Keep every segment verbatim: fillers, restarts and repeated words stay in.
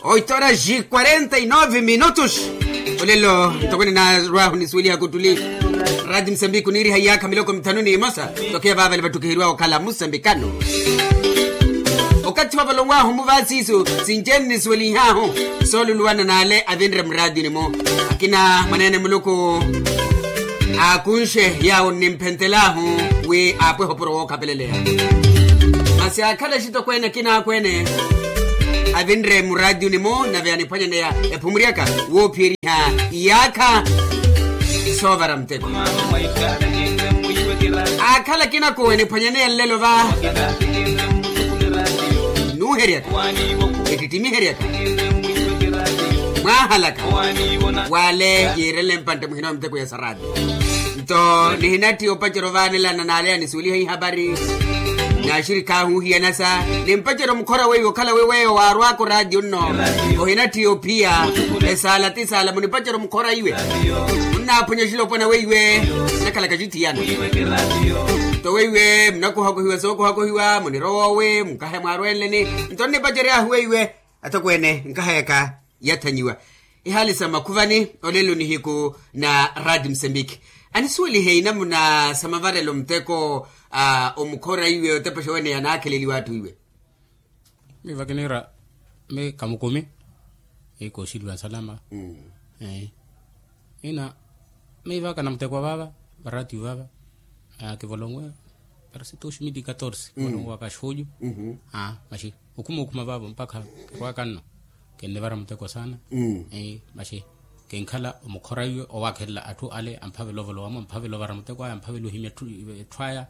Oito horas quarenta y nove minutos. Olelo ntokoni narwahu nisuweliha kutuli. Rati musambiki oniiriha iyaakha miloko mithanu n'imosa. Tokeya vaavale vattukiheriwawe okhala musambikano. Okathi wavalonwahu muvaasiisu sinci-ene nisuwelihaahu sooluluwana n'ale avinre muraatiyuni-mu. Akina mwaneene muluku aakunxe yaawo onimphentelaahu wi aapwehe opuro wookhapeleleya. Masi aakhala axitokweene akina akweene avinre muraatiyuni-mu nave aniphwanyaneya ephumuryaka woophiyeriha iyaakha soovara muteko. Aakhala akina koowe aniphwanyaneya nlelo va nuuheryaka ettittimiheryaka mwaahalaka wale yiirele mpantte muhina muteko ya saraati. Nto nihinatthi opacerya ovanelana n'ale anisuweliha ihapari n'axirikhi ahu ohiyanasa nimpacerya omukhora weiwe okhala wi weyo waarwaka oraatiyo nno ohinatthi ophiya esaala ti saala munipacerya omukhora iwe munnaaphwanya oxilopwana weiwe nnakhalaka axithiyana. Nto weiwe munakuhakuhiwa sookuhakuhiwa munirowa owe mukahe mwaarwenleni. Nto nnipaceryaahu weiwe atokweene nkahayaka yathanyiwa. Ihaali sa makhuvani olelo nihiku na rati musambiki anisuwelihe inamuna sa mavarelo muteko a omukhora iwe otepexa wene yanaakheleliwa atthu iwe. Miiva kiniira mi kamukumi. Kooxiliwa nsalama. Ina miivaka na muteko wa vaava varatiyo vaava kivolonwe parasi dos mil e catorse kivolonwaka xooju. Maxi okhuma okhuma vaavo mpakha kirwaka nno kinnivara muteko saana. Maxi kinkhala omukhora iwe owaakhelela atthu ale amphavela ovolowa-mo amphavela ovara muteko aya amphavela ohimya etthu aya.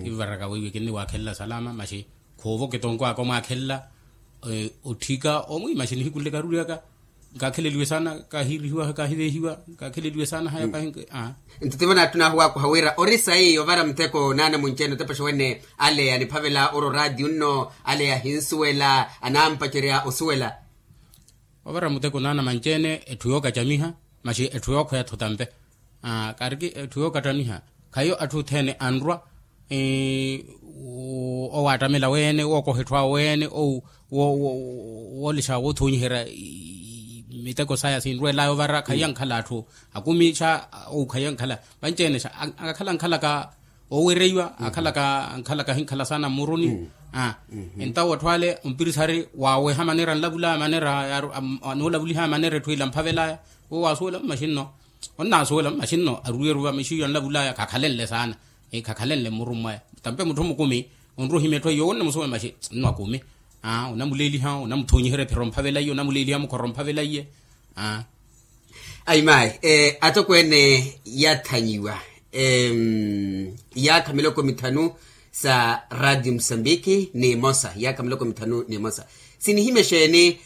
Kivaraka weiwe kinniwaakhelela salama maxi khoova okitonko aka omwaakhelela otthika omwi maxi nihiku nle karuryaka. Nkaakheleliwe saana kahiirihiwa kahiveehiwa nkaakheleliwe saana haya kahi. Nto tivo naattunaahu waakuha wira ori sayi ovara muteko naana munci-ene otepexa wene ale aniphavela oro oraatiyo nno ale ahinsuwela anampacerya osuwela. Ovara muteko naana manci-ene etthu yookacamiha maxi etthu yookhweya-tho tampe. Kariki etthu yookattaniha khayo atthu othene anrwa owaattamela weene wookoha etthu awe weene woolexa woothonyiherya miteko saya sinrweelaya ovara khayi ankhala atthu akumi xa ou khayi ankhala vanci-ene xa akhala ankhalaka oowereiwa akhalaka ankhalaka ahinkhala saana mmuruni. Entawo atthu ale ompirisari waaweha maneera anlavulaya maneera anoolavuliha maneera etthu ila amphavelaya wo waasuwela mmaxinno onnaasuwela mmaxinno arwiiru va mixiyo anlavulaya khakhalenle saana khakhalenle mmuruni mwaya. Tampe mutthu mukumi onrwa ohimya etthu aiyo wonne musuwe maxi nno akumi onamuleeliha onamuthonyiherya ephiro omphavelaiye onamuleeliha mukhora omphavelaiye. Ayi mayi atokweene yathanyiwa iyaakha miloko mithanu sa radio musambiki n'imosa iyaakha miloko mithanu n'imosa sinihimya exeeni?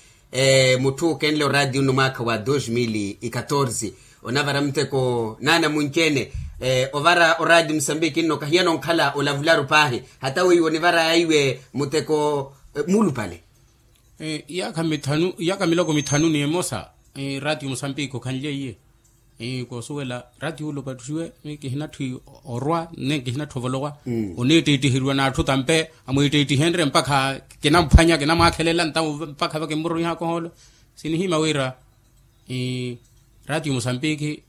Mutthu okenle oradio nno mwaakha wa dos mil e catorse onavara muteko naana munci-ene ovara oradio musambiki nno kahiyana onkhala olavularu paahi hata weiwo onivaraya iwe muteko muulupale. Iyaakha miloko mithanu n'imosa radio musambiki okhanlyeiye koosuwela ratiyulo opattuxiwe miyo kihinatthi orwa nne kihinatthi ovolowa oneettiittiheriwa n'atthu tampe amweettiittihenrye mpakha kinamphwanya kinamwaakhelela ntawo mpakha vakimmuroniha kohoolo. Sinihimya wira ratiyo musambiki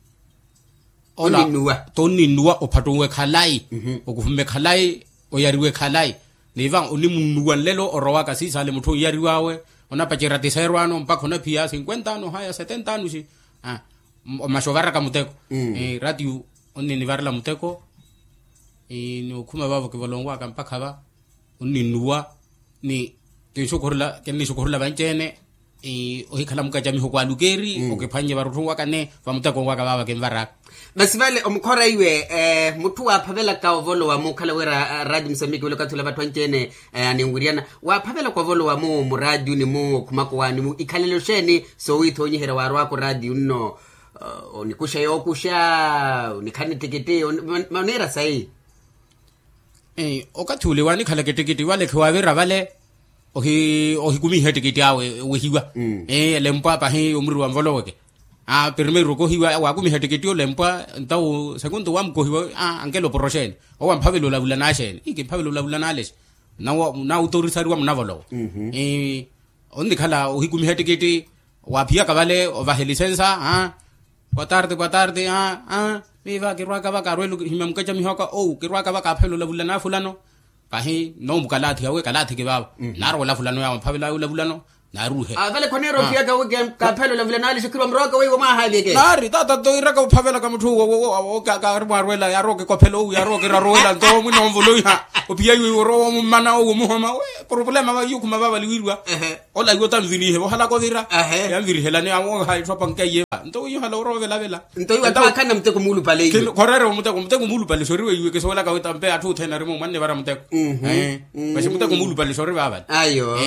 ola tonninnuwa ophattunwe khalayi okuhumme khalayi oyariwe khalayi. Niva onimunnuwa nlelo orowaka siisale mutthu onyariw'awe onapacerya tiseerwano mpakha onaphiya sinkwenta ano haya setenta ano xi. Maxi ovaraka muteko ratiyo onninivarela muteko ni okhuma vaavo kivolonwaka mpakha va onninnuwa ni kinxukhurula kinniixukhurula vanci-ene ohikhala mukacamiho kwaalukeeri okiphwannye varutthu waka ni vamuteko waka vaava kinvaraka. Masi vale omukhora iwe mutthu waaphavelaka ovolowa mukhala wira radio musambiki wile okathi ula vatthu anci-ene aninwiryana waaphavelaka ovolowa mu muraatiyuni mu okhumaka owaani mu ikhalelo xeeni soowiithoonyiherya waarwaka oraatiyo nno onikuxa yookuxa onikhalana ettikitti oneera sayi? Okathi ule waanikhalaka ettikitti vale khiwaavira vale ohikumiha ettikitti awe owehiwa elempwa pahi omuriri wa nvoloweke. Primeiro okohiwa waakumiha ettikitti olempwa ntawo sekunto waamukohiwa ankela oporoxeene owo amphavela olavula n'axeene ikimphavela olavula n'alexe. Naawutorisariwa munavolowa Onnikhala ohikumiha ettikitti, waaphiyaka vale ovaha elisensa. Boa tarde boa tarde. Miiva kirwaaka vaka arweele ohimya mukacamiho aka ou kirwaaka vaka aphela olavulana fulano. Kahi nnoomukalaathiha wi kalaathiki vaava. Naarowa olavulano yaawe mphavelaya olavulano. Naaruhe. Vale khoneera ophiyaka wi kaaphela olavulana alixo khirwa muroka weiwo mwaahaaviyeke. Naari taata nto iiraka ophavelaka mutthu uwo kaari mwaarweela yaarowa okikophela ou yaarowa okiraruwela nto omwina onvoloiha. Ophiya iwe iwe orowa omummana ou omuhoma wi problema va iwe okhuma vaavali wiiriwa. Ola iwe otanvirihe vohalaka ovira. Yanvirihelani awo oha etthu apanke aiye va nto wiihala orowa ovelavela. Nto iwe atthu aakhana muteko muulupale iwe. Khoreerewa muteko muteko muulupale soriwe iwe kisuwelaka wi tampe atthu othene arimo mwanne vara muteko. Masi muteko muulupale sori vaavale. Ayo.